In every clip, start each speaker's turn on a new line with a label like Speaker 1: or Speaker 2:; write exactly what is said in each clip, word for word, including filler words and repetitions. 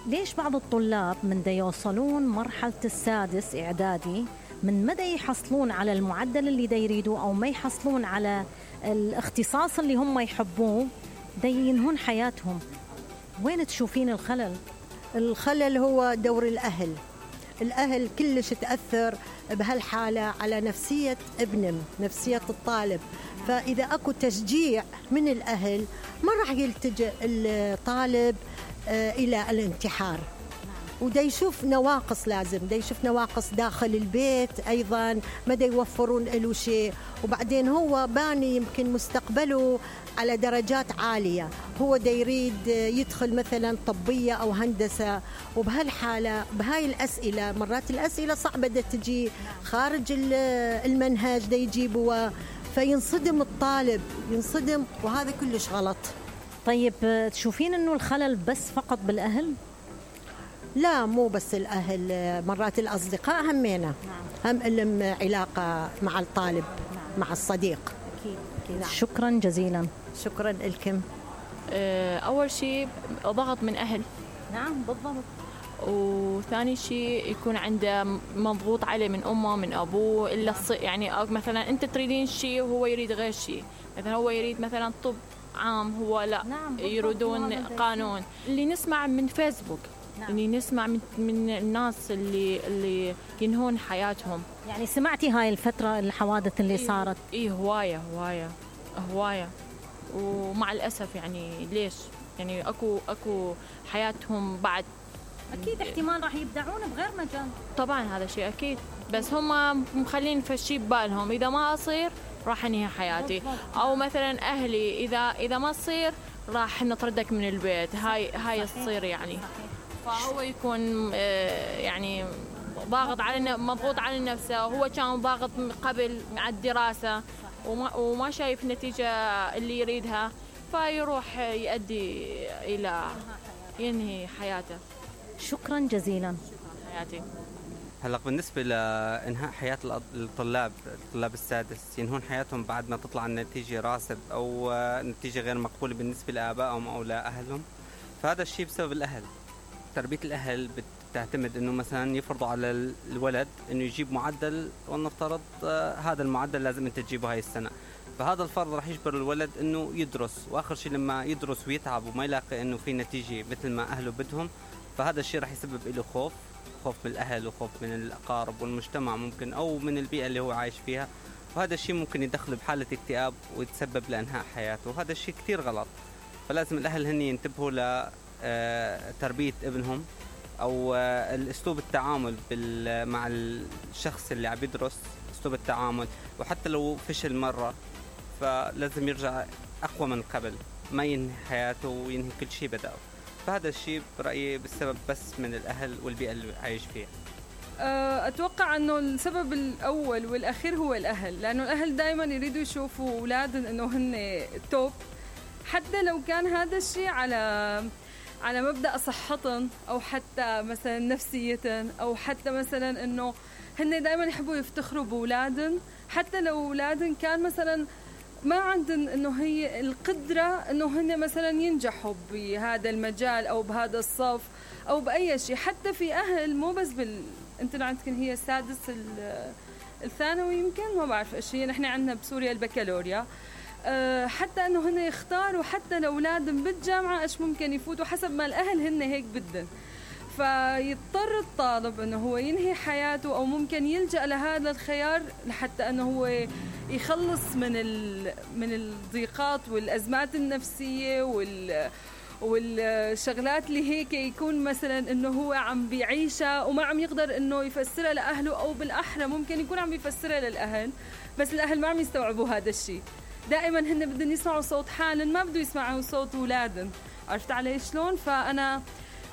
Speaker 1: ليش بعض الطلاب من دا يوصلون مرحلة السادس إعدادي من مدى يحصلون على المعدل اللي دا يريدوه أو ما يحصلون على الاختصاص اللي هم يحبوه دا ينهون حياتهم؟ وين تشوفين الخلل؟
Speaker 2: الخلل هو دور الأهل. الأهل كلش تأثر بهالحالة على نفسية ابنهم، نفسية الطالب. فإذا أكو تشجيع من الأهل ما راح يلتجئ الطالب إلى الانتحار. ودا يشوف نواقص، لازم دا يشوف نواقص داخل البيت أيضا ما دا يوفرون له شيء، وبعدين هو باني يمكن مستقبله على درجات عالية، هو دا يريد يدخل مثلا طبية أو هندسة، وبهالحالة بهاي الأسئلة مرات الأسئلة صعبة دا تجي خارج المنهج دا يجيبوا، فينصدم الطالب ينصدم، وهذا كلش غلط.
Speaker 1: طيب تشوفين أنه الخلل بس فقط بالأهل؟
Speaker 2: لا، مو بس الأهل، مرات الأصدقاء همينا هم لهم علاقة مع الطالب مع الصديق.
Speaker 1: أكيد. أكيد. نعم. شكرا جزيلا.
Speaker 2: شكرا لكم.
Speaker 3: أول شيء ضغط من أهل.
Speaker 1: نعم بالضبط.
Speaker 3: وثاني شيء يكون عنده مضغوط عليه من أمه من أبوه، إلا يعني مثلا أنت تريدين شيء وهو يريد غير شيء، مثلا هو يريد مثلا طب عام هو لا.
Speaker 1: نعم
Speaker 3: يريدون قانون. اللي نسمع من فيسبوك. نعم. اللي نسمع من من الناس اللي اللي ينهون حياتهم.
Speaker 1: يعني سمعتي هاي الفترة الحوادث اللي
Speaker 3: إيه
Speaker 1: صارت؟
Speaker 3: إيه هواية هواية هواية. ومع الأسف يعني ليش يعني أكو أكو حياتهم بعد.
Speaker 1: أكيد احتمال راح يبدعون بغير مجال.
Speaker 3: طبعا هذا شيء أكيد، بس هم مخلين في الشيء ببالهم إذا ما أصير راح أنهي حياتي، أو مثلا أهلي إذا إذا ما تصير راح نطردك من البيت. هاي هاي تصير يعني. فهو يكون يعني ضاغط على مضغوط على نفسه، وهو كان ضاغط قبل على الدراسة وما, وما شايف نتيجة اللي يريدها، فيروح يؤدي إلى ينهي حياته.
Speaker 1: شكرا جزيلا.
Speaker 3: حياتي.
Speaker 4: هلا بالنسبة لإنهاء حياة الطلاب الطلاب السادس ينهون حياتهم بعد ما تطلع النتيجة راسب أو نتيجة غير مقبولة بالنسبة لآبائهم أو لأهلهم، فهذا الشيء بسبب الأهل. تربية الأهل بتعتمد إنه مثلا يفرضوا على الولد إنه يجيب معدل، ولنفترض هذا المعدل لازم أنت تجيبه هاي السنة، فهذا الفرض راح يجبر الولد إنه يدرس، وآخر شيء لما يدرس ويتعب وما يلاقي إنه في نتيجة مثل ما أهله بدهم، فهذا الشيء راح يسبب له خوف خوف من الأهل وخوف من الأقارب والمجتمع ممكن، أو من البيئة اللي هو عايش فيها، وهذا الشيء ممكن يدخله بحالة اكتئاب ويتسبب لإنهاء حياته، وهذا الشيء كتير غلط. فلازم الأهل هن ينتبهوا لتربية ابنهم أو الأسلوب التعامل مع الشخص اللي عم يدرس، أسلوب التعامل، وحتى لو فشل مرة فلازم يرجع أقوى من قبل، ما ينهي حياته وينهي كل شيء بدأه. فهذا الشيء برأيي بالسبب بس من الأهل والبيئة اللي عايش فيها.
Speaker 5: أتوقع أنه السبب الأول والأخير هو الأهل، لأنه الأهل دائما يريدوا يشوفوا أولادهم أنه هن توب، حتى لو كان هذا الشيء على على مبدأ صحتهم أو حتى مثلا نفسيتهم، أو حتى مثلا أنه هن دائما يحبوا يفتخروا بأولادهم، حتى لو أولادهم كان مثلا ما عندهم انه هي القدرة انه هن مثلا ينجحوا بهذا المجال او بهذا الصف او باي شيء. حتى في اهل مو بس بال انت عندك هي السادس الثانوي يمكن ما بعرف ايش هي، نحن عندنا بسوريا البكالوريا، أه حتى انه هن يختاروا حتى لاولادهم بالجامعة ايش ممكن يفوتوا حسب ما الاهل هن هيك بدهم، فيضطر الطالب انه هو ينهي حياته او ممكن يلجأ لهذا الخيار لحتى انه هو يخلص من من الضيقات والازمات النفسيه وال والشغلات اللي هيك يكون مثلا انه هو عم بيعيشها وما عم يقدر انه يفسرها لاهله، او بالاحرى ممكن يكون عم بيفسرها للاهل بس الاهل ما عم يستوعبوا هذا الشيء. دائما هن بدهم يسمعوا صوت حالهم، ما بدهم يسمعوا صوت اولادهم. عرفت علي شلون؟ فانا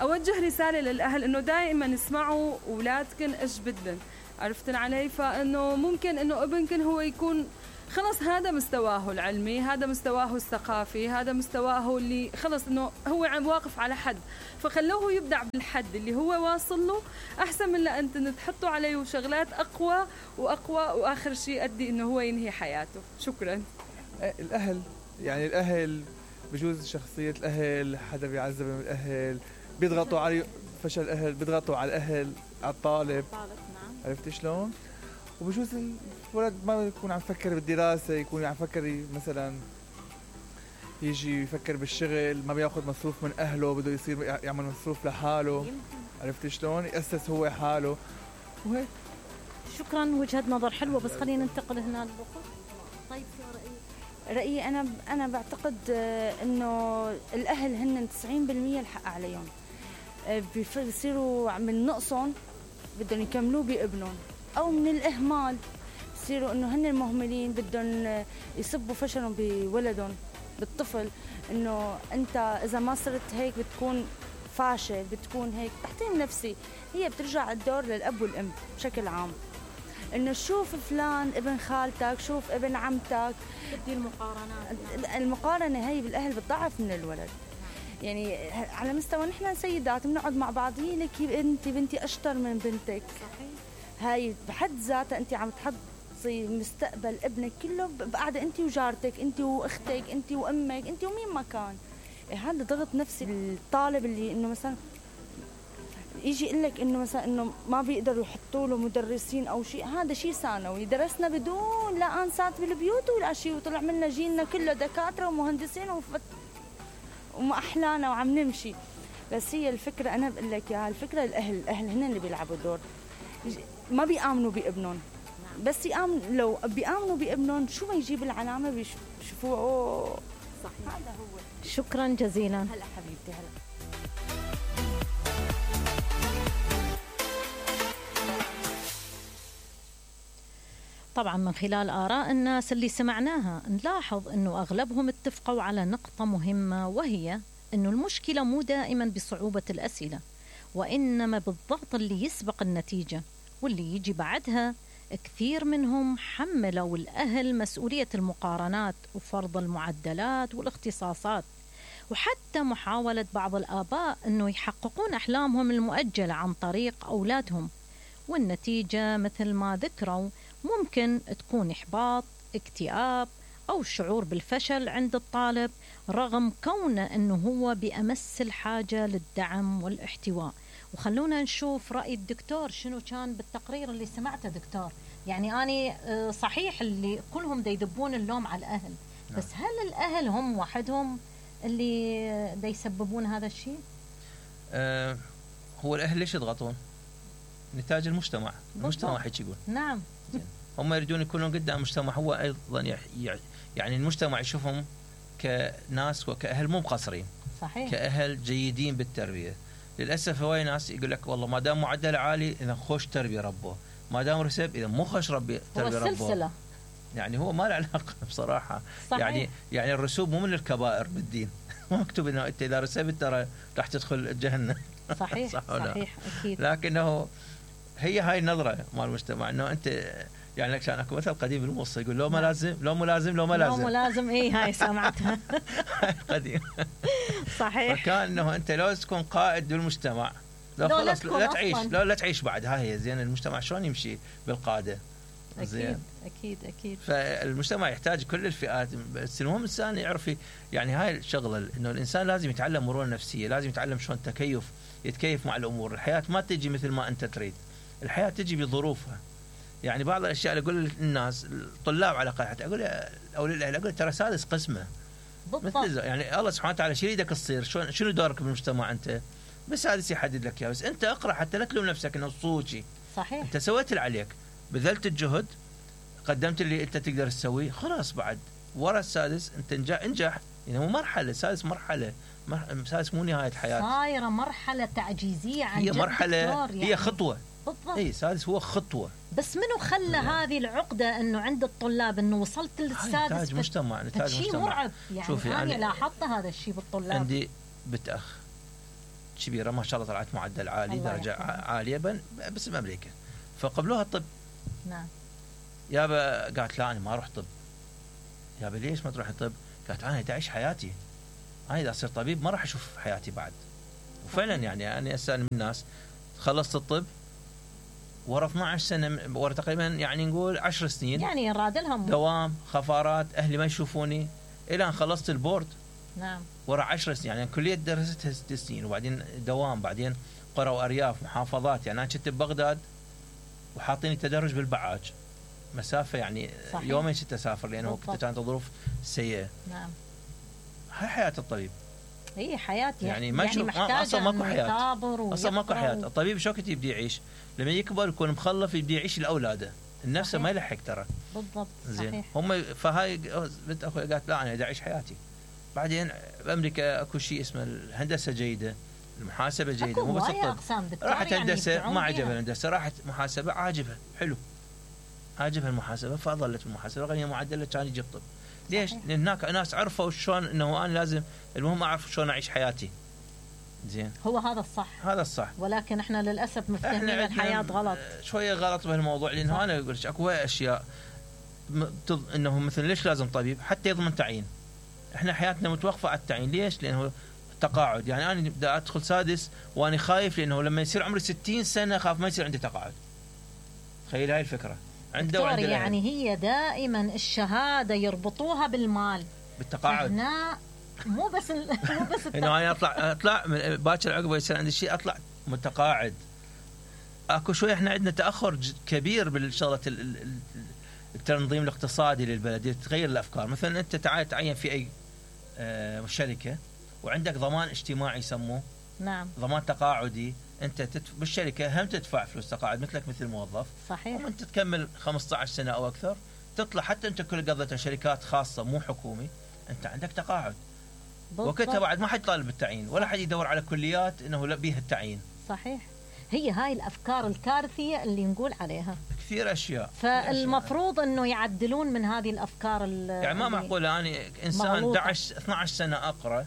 Speaker 5: اوجه رساله للاهل انه دائما اسمعوا اولادكم ايش بدهم. عرفتن علي؟ فانه ممكن انه ابنكن هو يكون خلص هذا مستواه العلمي، هذا مستواه الثقافي، هذا مستواه اللي خلص انه هو عم واقف على حد، فخلوه يبدع بالحد اللي هو واصل له، احسن من لا انت تحطوا عليه شغلات اقوى واقوى واخر شيء ادي انه هو ينهي حياته. شكرا.
Speaker 6: الاهل يعني الاهل بجوز شخصيه الاهل، حدا بيعذب من الاهل، بيضغطوا على فشل الاهل، بيضغطوا على الاهل، على الطالب.
Speaker 3: طالب نعم.
Speaker 6: عرفتي شلون؟ وبجوز الولد ما يكون عم يفكر بالدراسه، يكون عم يفكر مثلا يجي يفكر بالشغل، ما بياخذ مصروف من اهله، بده يصير يعمل مصروف لحاله. عرفتي شلون؟ يأسس هو حاله وهيك.
Speaker 1: شكرا، وجهة نظر حلوة، بس خلينا ننتقل هنا للأخت. طيب في رأيي؟
Speaker 7: رأيي أنا أنا بعتقد إنه الأهل هن تسعين بالمية الحق عليهم، بيصيروا من نقصهم بدهم يكملوه بابنهم، أو من الإهمال بصيروا إنه هن المهملين بدهم يصبوا فشلهم بولدهم بالطفل، إنه أنت إذا ما صرت هيك بتكون فاشل، بتكون هيك تحطيم نفسي. هي بترجع الدور للأب والأم بشكل عام، إنه شوف فلان ابن خالتك، شوف ابن عمتك،
Speaker 1: بدي المقارنات.
Speaker 7: المقارنة هي بالأهل بتضعف من الولد. يعني على مستوى نحن سيدات بنقعد مع بعض، هي لك انت بنتي اشطر من بنتك.
Speaker 1: صحيح.
Speaker 7: هاي بحد ذاتها انت عم تحطي مستقبل ابنك كله بقعده انت وجارتك، انت واختك، انت وامك، انت ومين ما كان. هذا ضغط نفسي الطالب اللي انه مثلا يجي يقول لك انه مثلا انه ما بيقدروا يحطوا له مدرسين او شيء. هذا شيء ثانوي، درسنا بدون لا انسات بالبيوت ولا شيء، وطلع منا جيلنا كله دكاتره ومهندسين وفت وما احلانا وعم نمشي. بس هي الفكره انا بقول لك اياها، الفكره الاهل الاهل هن اللي بيلعبوا دور، ما بيامنوا بابنهم. بس يامن لو بيامنوا بابنهم شو ما يجيب العلامه بيشوفوه اوه
Speaker 1: صحيح.
Speaker 7: هذا هو.
Speaker 1: شكرا جزيلا.
Speaker 7: هلا حبيبتي هلا.
Speaker 1: طبعا من خلال آراء الناس اللي سمعناها نلاحظ أنه أغلبهم اتفقوا على نقطة مهمة، وهي أنه المشكلة مو دائما بصعوبة الأسئلة، وإنما بالضغط اللي يسبق النتيجة واللي يجي بعدها. كثير منهم حملوا الأهل مسؤولية المقارنات وفرض المعدلات والاختصاصات، وحتى محاولة بعض الآباء أنه يحققون أحلامهم المؤجلة عن طريق أولادهم، والنتيجة مثل ما ذكروا ممكن تكون إحباط، اكتئاب، أو شعور بالفشل عند الطالب رغم كونه أنه هو بأمس الحاجة للدعم والاحتواء. وخلونا نشوف رأي الدكتور شنو كان بالتقرير اللي سمعته دكتور. يعني أنا صحيح اللي كلهم دا يدبون اللوم على الأهل، بس هل الأهل هم وحدهم اللي دا يسببون هذا الشيء؟
Speaker 8: أه هو الأهل ليش يضغطون؟ نتاج المجتمع. المجتمع هيك يقول.
Speaker 1: نعم.
Speaker 8: هم يريدون يكونون قدام المجتمع، هو أيضا يعني المجتمع يشوفهم كناس وكأهل مو مقصرين.
Speaker 1: صحيح.
Speaker 8: كأهل جيدين بالتربية. للأسف هواي ناس يقول لك والله ما دام معدل عالي إذا خوش تربية ربه، ما دام رسب إذا مو خوش ربي تربية ربه. هو السلسلة. يعني هو ما له علاقة بصراحة. صحيح. يعني يعني الرسوب مو من الكبائر بالدين. ما مكتوب إنه أنت إذا رسبت ترى راح تدخل جهنم.
Speaker 1: صحيح. صح صحيح أكيد.
Speaker 8: لكنه هي هاي النظرة مال المجتمع إنه أنت يعني كان اكو مثل قديم بالموصى يقول لو ما لازم لو مو لازم لو ما لازم
Speaker 1: لو مو لازم. اي هاي سمعتها.
Speaker 8: هاي قديم.
Speaker 1: صحيح.
Speaker 8: فكان انه انت لو تكون قائد بالمجتمع لو خلص لا تعيش لو لا تعيش بعد. هاي هي زين. المجتمع شلون يمشي بالقاده؟
Speaker 1: زين. اكيد اكيد.
Speaker 8: فالمجتمع يحتاج كل الفئات، بس المهم الانسان يعرف يعني هاي الشغله انه الانسان لازم يتعلم مرونه نفسيه، لازم يتعلم شلون تكيف يتكيف مع الامور. الحياه ما تجي مثل ما انت تريد، الحياه تجي بظروفها. يعني بعض الاشياء اللي اقول للناس الطلاب على الاقل حتى اقول او للاهل اقول ترى سادس قسمه مثل يعني الله سبحانه وتعالى شو يريدك تصير، شلون شنو دورك بالمجتمع انت، بس سادس يحدد لك اياه. بس انت اقرا حتى لا تلوم نفسك انه صوتي.
Speaker 1: صحيح.
Speaker 8: انت سويت اللي عليك، بذلت الجهد، قدمت اللي انت تقدر تسويه، خلاص بعد ورا السادس انت انجح انجح. يعني مو مرحله، سادس مرحله، سادس مو نهايه حياه،
Speaker 1: صايره مرحله تعجيزيه عن
Speaker 8: هي مرحله يعني. هي خطوه
Speaker 1: بالضبط.
Speaker 8: اي سادس هو خطوه.
Speaker 1: بس منو خلى هذه العقده انه عند الطلاب انه وصلت للسادس؟
Speaker 8: نتاج مجتمع، نتاج مجتمع.
Speaker 1: شيء مرعب يعني.
Speaker 8: شوفي
Speaker 1: انا
Speaker 8: يعني
Speaker 1: لاحظت هذا الشيء بالطلاب.
Speaker 8: عندي بنت اخ كبيره ما شاء الله طلعت معدل عالي، درجه يحفظ. عاليه بس بامريكا، فقبلوها الطب.
Speaker 1: نعم.
Speaker 8: يابا قالت لا انا ما اروح طب. يابا ليش ما تروح طب؟ قالت انا اعيش حياتي، انا اذا اصير طبيب ما راح اشوف حياتي بعد. وفعلا يعني انا اسال من الناس خلصت الطب ورا اثنعش سنه، ورا تقريبا يعني نقول عشر سنين،
Speaker 1: يعني راد لهم
Speaker 8: دوام، خفارات، اهلي ما يشوفوني، الى ان خلصت البورد
Speaker 1: نعم.
Speaker 8: ورا عشر سنين، يعني كلية درستها ست سنين وبعدين دوام، بعدين قرى وأرياف محافظات. يعني أنا كنت ببغداد وحاطيني تدرج بالبعاج مسافة يعني صحيح. يومين ست أسافر لأنه كنت كانت الظروف سيئة.
Speaker 1: نعم.
Speaker 8: هاي حياة الطبيب.
Speaker 1: هي حياة
Speaker 8: يعني ما يعني محتاجة
Speaker 1: أصلا
Speaker 8: ماكو حياة، أصلا ماكو حياة. الطبيب شو كنت يبدي يعيش لما يكبر يكون مخلف، يبدي يعيش لأولاده، النفس ما يلحق ترى.
Speaker 1: بالضبط.
Speaker 8: زين
Speaker 1: صحيح.
Speaker 8: هم فهاي بنت أخوي قالت لا أنا بدي أعيش حياتي. بعدين بأمريكا أكو شيء اسمه الهندسة جيدة، المحاسبة جيدة، مو بس الطب. راحت هندسة يعني ما عجبها الهندسة، راحت محاسبة عاجبها حلو، عاجبها المحاسبة فظلت المحاسبة، غنية معدلة كان يجيب طب. ليش؟ لأن هناك ناس عرفوا شلون انه انا لازم المهم اعرف شلون اعيش حياتي. زين.
Speaker 1: هو هذا الصح.
Speaker 8: هذا الصح.
Speaker 1: ولكن احنا للاسف مفتهمين الحياة غلط.
Speaker 8: شوية غلط بهالموضوع، لانه انا اقول لك اكو اشياء انه مثلا ليش لازم طبيب؟ حتى يضمن تعيين. احنا حياتنا متوقفة على التعيين، ليش؟ لانه تقاعد. يعني انا بدي ادخل سادس وانا خايف لانه لما يصير عمري ستين سنة خاف ما يصير عندي تقاعد. تخيل هاي الفكرة. عنده وعنده
Speaker 1: يعني هي دائما الشهاده يربطوها بالمال،
Speaker 8: بالتقاعد.
Speaker 1: هنا مو بس ال... مو بس
Speaker 8: انه انا اطلع اطلع باكر عقبه يصير عندي شيء اطلع متقاعد. اكو شويه احنا عندنا تاخر كبير بالشغله التنظيم الاقتصادي للبلد، تغير الافكار. مثلا انت تعال تعين في اي شركه وعندك ضمان اجتماعي يسموه.
Speaker 1: نعم.
Speaker 8: ضمان تقاعدي. انت تدف... بالشركه هم تدفع فلوس تقاعد مثلك مثل موظف.
Speaker 1: صحيح.
Speaker 8: وانت تكمل خمسة عشر سنه او اكثر تطلع، حتى انت كل قضيتها شركات خاصه مو حكومي، انت عندك تقاعد. وقتها بعد ما حد طالب بالتعيين ولا حد يدور على كليات انه لا بيها التعيين.
Speaker 1: صحيح. هي هاي الافكار الكارثيه اللي نقول عليها
Speaker 8: كثير اشياء.
Speaker 1: فالمفروض انه يعدلون من هذه الافكار.
Speaker 8: يعني ما معقوله يعني انسان احد عشر اثني عشر سنه اقرا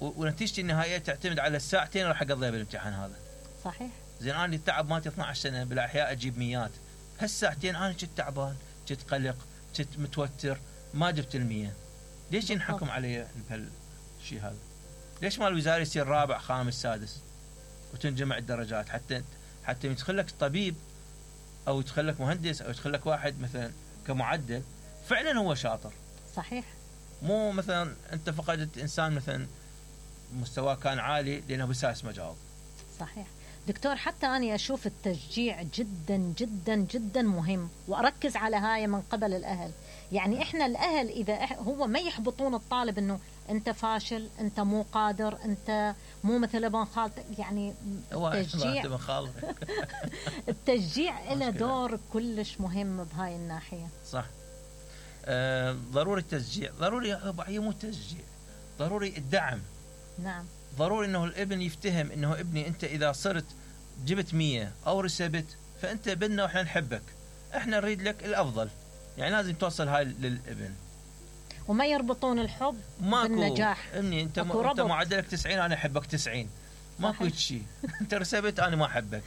Speaker 8: ونتيجتي النهائيه تعتمد على الساعتين راح اقضيها بالامتحان هذا.
Speaker 1: صحيح.
Speaker 8: زين انا التعب مالتي اثني عشر سنه بالاحياء اجيب ميات، هالساعتين انا كنت تعبان، كنت قلق، كنت متوتر، ما جبت المية. ليش ينحكم علي بهالشيء هذا؟ ليش ما الوزاره يصير رابع خامس سادس وتنجمع الدرجات حتى حتى يدخل لك طبيب او يدخل لك مهندس او يدخل لك واحد مثلا كمعدل فعلا هو شاطر.
Speaker 1: صحيح.
Speaker 8: مو مثلا انت فقدت انسان مثلا مستواه كان عالي لانه بساس ما جاوب.
Speaker 1: صحيح. دكتور حتى أنا أشوف التشجيع جدا جدا جدا مهم، وأركز على هاي من قبل الأهل. يعني إحنا الأهل إذا هو ما يحبطون الطالب إنه أنت فاشل، أنت مو قادر، أنت مو مثل ابن خالتك، يعني التشجيع التشجيع له دور كلش مهم بهاي الناحية.
Speaker 8: صح. آه ضروري التشجيع، ضروري هي مو تشجيع، ضروري الدعم.
Speaker 1: نعم.
Speaker 8: ضروري انه الابن يفتهم انه ابني انت اذا صرت جبت مية او رسبت فانت ابننا واحنا نحبك، احنا نريد لك الافضل. يعني لازم توصل هاي للابن
Speaker 1: وما يربطون الحب بالنجاح.
Speaker 8: ابني انت م... انت معدلك تسعين انا احبك تسعين، ماكو شيء. انت رسبت انا ما احبك.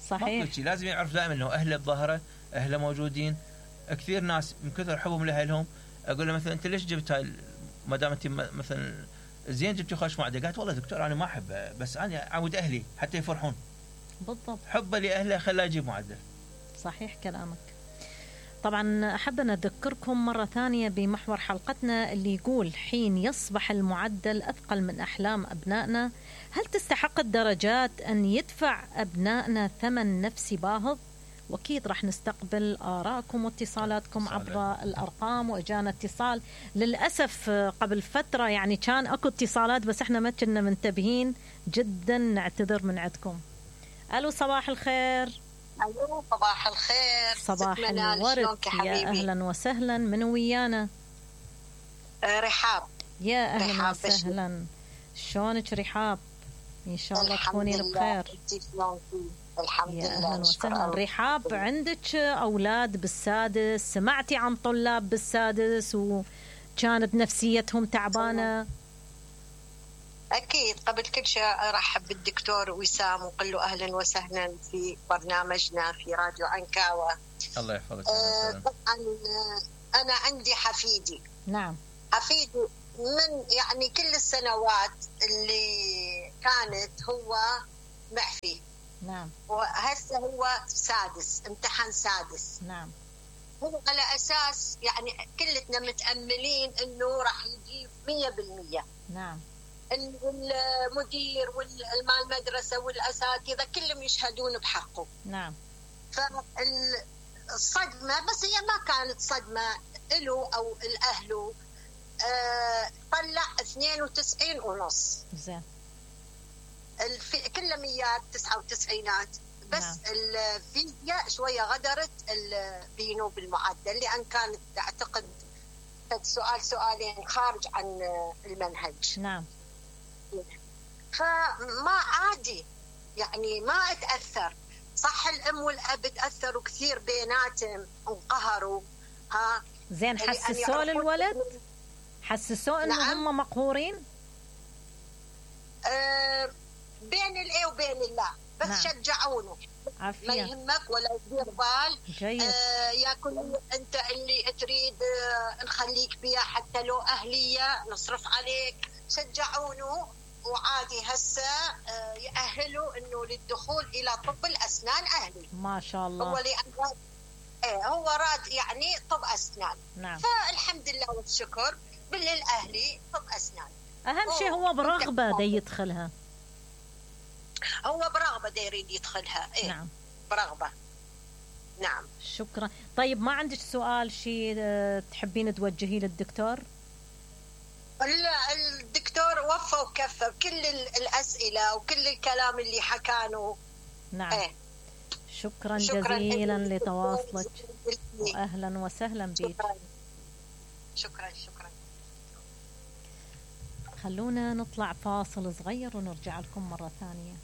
Speaker 1: صحيح.
Speaker 8: ماكو شيء. لازم يعرف دائما انه اهله بظهره، اهله موجودين. كثير ناس من كثر حبهم لاهلهم اقول له مثلا انت ليش جبت هاي ما دام انت مثلا زين جبتي خوش معدل؟ قالت والله دكتور انا ما احبه بس انا اعود اهلي حتى يفرحون.
Speaker 1: بالضبط.
Speaker 8: حبه لاهله خلاه يجيب معدل.
Speaker 1: صحيح كلامك. طبعا احب ان اذكركم مره ثانيه بمحور حلقتنا اللي يقول حين يصبح المعدل اثقل من احلام ابنائنا، هل تستحق الدرجات ان يدفع ابنائنا ثمن نفسي باهظ؟ واكيد راح نستقبل آراءكم واتصالاتكم عبر الارقام. واجانا اتصال للاسف قبل فتره، يعني كان اكو اتصالات بس احنا ما كنا منتبهين جدا، نعتذر من عندكم. الو صباح الخير.
Speaker 9: الو صباح الخير.
Speaker 1: صباح الورد. يا اهلا وسهلا. من ويانا؟
Speaker 9: آه رحاب.
Speaker 1: يا اهلا وسهلا. شلونك رحاب؟ ان شاء الله تكونين بخير.
Speaker 9: الحمد
Speaker 1: يا
Speaker 9: لله.
Speaker 1: أهلا وسهلا. رحاب عندك أولاد بالسادس، سمعتي عن طلاب بالسادس وكانت نفسيتهم تعبانة؟
Speaker 9: أكيد. قبل كل شيء أرحب بالدكتور وسام وقل له أهلا وسهلا في برنامجنا في راديو عنكاوة.
Speaker 8: الله يحفظك.
Speaker 9: آه طبعا أنا عندي حفيدي.
Speaker 1: نعم.
Speaker 9: حفيدي من يعني كل السنوات اللي كانت هو معفي.
Speaker 1: نعم.
Speaker 9: وهسه هو سادس، امتحان سادس.
Speaker 1: نعم.
Speaker 9: هو على أساس يعني كلتنا متأملين إنه راح يجيب مية بالمية.
Speaker 1: نعم.
Speaker 9: المدير والمال المدرسة والأساتذة كلهم يشهدون بحقه.
Speaker 1: نعم.
Speaker 9: فالصدمة بس هي ما كانت صدمة له أو الأهله. أه طلع اثنين وتسعين ونص.
Speaker 1: زين.
Speaker 9: الكلميات تسعة وتسعينات بس. نعم. الفيزياء شوية غدرت بينه بالمعدل لأن كانت أعتقد سؤال سؤالين خارج عن المنهج.
Speaker 1: نعم.
Speaker 9: فما عادي يعني ما اتأثر. صح الأم والأب تأثروا كثير بيناتهم وانقهروا. ها
Speaker 1: زين حسسوه للولد؟ حسسوه انه نعم. هم مقهورين؟
Speaker 9: أه بين الايه وبين الله بس. نعم. شجعونه.
Speaker 1: عافية.
Speaker 9: ما يهمك ولا يدير بال.
Speaker 1: جيد.
Speaker 9: آه ياكل انت اللي تريد. آه نخليك بيها حتى لو اهليه نصرف عليك. شجعونه وعادي هسه آه يأهلوا انه للدخول الى طب الاسنان اهلي.
Speaker 1: ما شاء الله.
Speaker 9: هو لأن ايه هو راد يعني طب اسنان.
Speaker 1: نعم.
Speaker 9: فالحمد لله والشكر بالاهلي طب اسنان.
Speaker 1: اهم شيء هو برغبه دي يدخلها.
Speaker 9: هو برغبه دي يريد يدخلها. ايه
Speaker 1: نعم.
Speaker 9: برغبه. نعم.
Speaker 1: شكرا. طيب ما عندك سؤال شيء تحبين توجهيه للدكتور؟
Speaker 9: لا الدكتور وفى وكفى بكل الأسئلة وكل الكلام اللي حكانه.
Speaker 1: نعم. ايه. شكرا, شكرا جزيلا لتواصلك وأهلا وسهلا بك.
Speaker 9: شكرا شكرا شكرا.
Speaker 1: خلونا نطلع فاصل صغير ونرجع لكم مرة ثانية.